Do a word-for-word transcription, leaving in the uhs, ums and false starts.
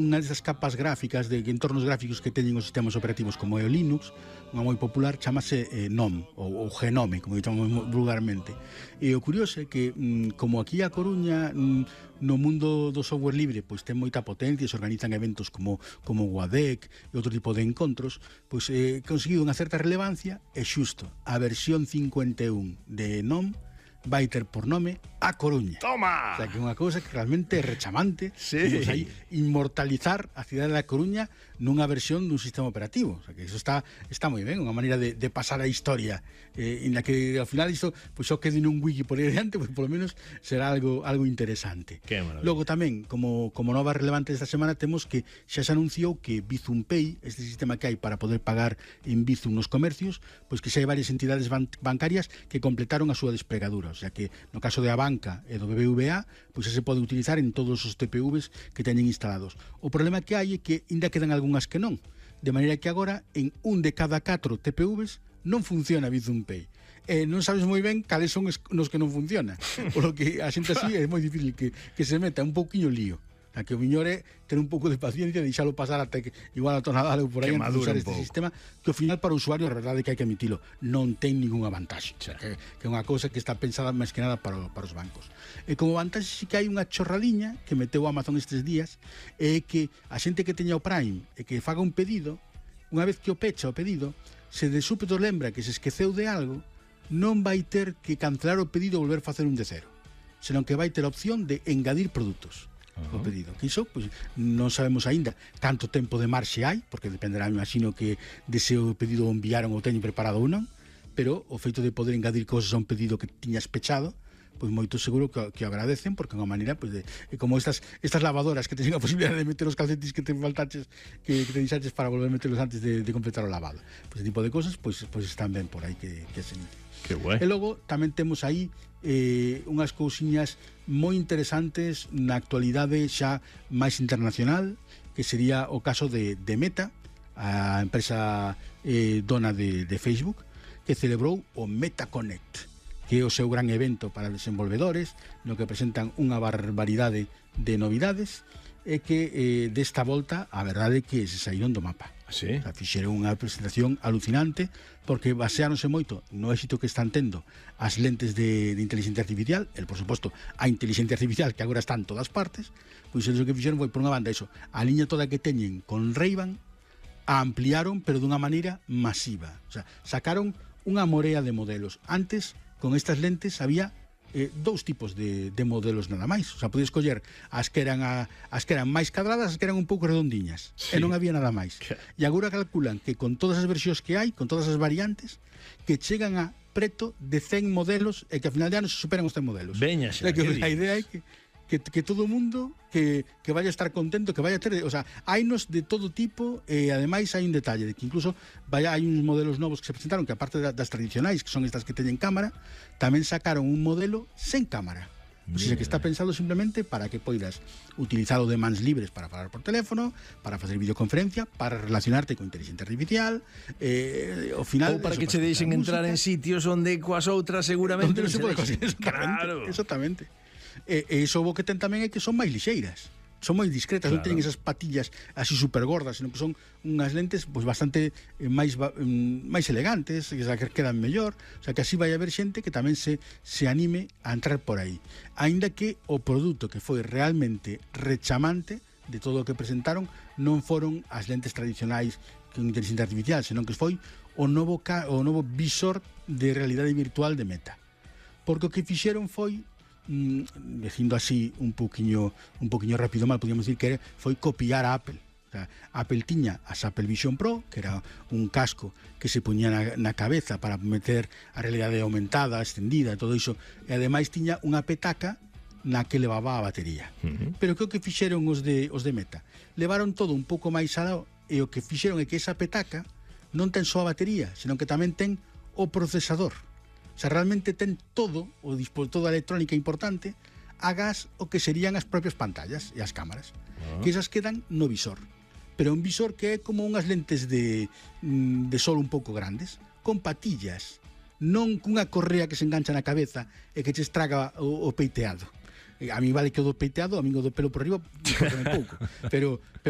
unha desas capas gráficas de entornos gráficos que teñen os sistemas operativos como é o Linux, unha moi popular, chamase eh, GNOME ou, ou Genome, como chamamos vulgarmente. E o curioso é que, mm, como aquí a Coruña, mm, no mundo do software libre, pois ten moita potencia, se organizan eventos como como o ADEC e outro tipo de encontros, pois eh, conseguido unha certa relevancia, e xusto a versión cincuenta e un de GNOME vai ter por nome A Coruña. Toma! O sea, que é unha cousa que realmente é rechamante. Sí. Imos aí inmortalizar a cidade da Coruña nunha versión dun sistema operativo. O sea, que eso está está moi ben, unha maneira de, de pasar a historia, eh, en la que ao final isto pois só quede nun wiki por aí adiante, pois polo menos será algo algo interesante. Que maravilla. Logo tamén, como como nova relevante esta semana, temos que xa se anunciou que Bizum Pay, este sistema que hai para poder pagar en Bizum nos comercios, pois que xa hai varias entidades ban bancarias que completaron a súa despregadura. O sea que no caso de a banca e do B B V A, pois xa se pode utilizar en todos os T P Vs que teñen instalados. O problema que hai é que ainda quedan algunhas que non, de maneira que agora en un de cada catro T P Vs non funciona Bizum Pay. E non sabes moi ben cales son nos que non funciona. Por lo que a xente así é moi difícil que, que se meta un pouquiño lío. A que o miñor é ter un pouco de paciencia e deixalo pasar até que igual a tonada ou por aí antes de usar este pouco. sistema, que ao final para o usuario a verdade é que hai que admitilo, non ten ningunha vantaxe. O sea, que, que é unha cousa que está pensada máis que nada para, para os bancos. E como vantaxe sí que hai unha chorradiña que meteu Amazon estes días, é que a xente que teña o Prime e que faga un pedido, unha vez que o pecha o pedido, se de súpeto lembra que se esqueceu de algo, non vai ter que cancelar o pedido e volver a facer un de cero, senón que vai ter a opción de engadir produtos o pedido. Que iso, pois, non sabemos aínda canto tempo de marxe hai, porque dependerá, me imagino, que dese o pedido o enviaron ou teñen preparado ou non, pero o feito de poder engadir cousas a un pedido que tiñas pechado, pois moito seguro que, que o agradecen, porque é unha maneira, pois, de, como estas estas lavadoras que teñen a posibilidade de meter os calcetis que te faltaches, que, que te deixaches para volver a meterlos antes de, de completar o lavado. Pois ese tipo de cousas, pois, pois están ben por aí que, que se mete. Que guai. E logo tamén temos aí eh, unhas cousiñas moi interesantes na actualidade xa máis internacional, que sería o caso de, de Meta, a empresa eh, dona de, de Facebook, que celebrou o MetaConnect, que é o seu gran evento para desenvolvedores, no que presentan unha barbaridade de novidades, e que eh, desta volta a verdade é que se saíron do mapa. Sí. O sea, fixeron unha presentación alucinante, porque baseáronse moito no éxito que están tendo as lentes de, de inteligencia artificial, el, por suposto, a inteligencia artificial que agora está en todas partes, pois eles o que fixeron foi, por unha banda, eso, a liña toda que teñen con Ray-Ban, a ampliaron, pero dunha maneira masiva. O sea, sacaron unha morea de modelos. Antes, con estas lentes, había Eh, dous tipos de, de modelos nada máis. O sea, podías escoller as que eran a, as que eran máis cadradas, as que eran un pouco redondiñas, sí. E non había nada máis. Que... E agora calculan que con todas as versións que hai, con todas as variantes, que chegan a preto de cen modelos e que a final de ano se superan os cen modelos. Veña xa, o sea, que a idea é que Que, que todo o mundo que, que vaya a estar contento, que vaya a ter, o sea, hainos de todo tipo, e ademais hai un detalle de que incluso vaya, hai uns modelos novos que se presentaron, que aparte das tradicionais, que son estas que teñen cámara, tamén sacaron un modelo sen cámara. O sea, que está pensado simplemente para que poidas utilizar o de mans libres para falar por teléfono, para facer videoconferencia, para relacionarte con inteligencia artificial, eh, ao final... Ou para eso, que che deixen entrar en sitios onde coas outras seguramente non se pode conseguir. Claro. Exactamente. E, e iso o que ten tamén é que son máis lixeiras, son moi discretas, claro. Non teñen esas patillas así super gordas, sino que son unhas lentes pois bastante eh, máis máis elegantes, que, que quedan mellor. O sea, que así vai haber xente que tamén se, se anime a entrar por aí, aínda que o produto que foi realmente rechamante de todo o que presentaron non foron as lentes tradicionais con inteligencia artificial, senón que foi o novo, o novo visor de realidade virtual de Meta, porque o que fixeron foi, Mm, dicindo así un poquinho un poquinho rápido mal, podíamos decir que foi copiar a Apple. O sea, Apple tiña as Apple Vision Pro, que era un casco que se poñía na, na cabeza para meter a realidade aumentada, extendida, todo iso, e ademais tiña unha petaca na que levaba a batería. Uh-huh. Pero que o que fixeron os de, os de Meta? Levaron todo un pouco máis alá, e o que fixeron é que esa petaca non ten só a batería, senón que tamén ten o procesador. O sea, realmente ten todo o toda a electrónica importante agás o que serían as propias pantallas e as cámaras, uh-huh. Que esas quedan no visor, pero un visor que é como unhas lentes de, de sol un pouco grandes, con patillas, non cunha correa que se engancha na cabeza e que che estraga o, o peiteado. A mí vale que o do peiteado, a mí o do pelo por arriba, un pouco, pero, pero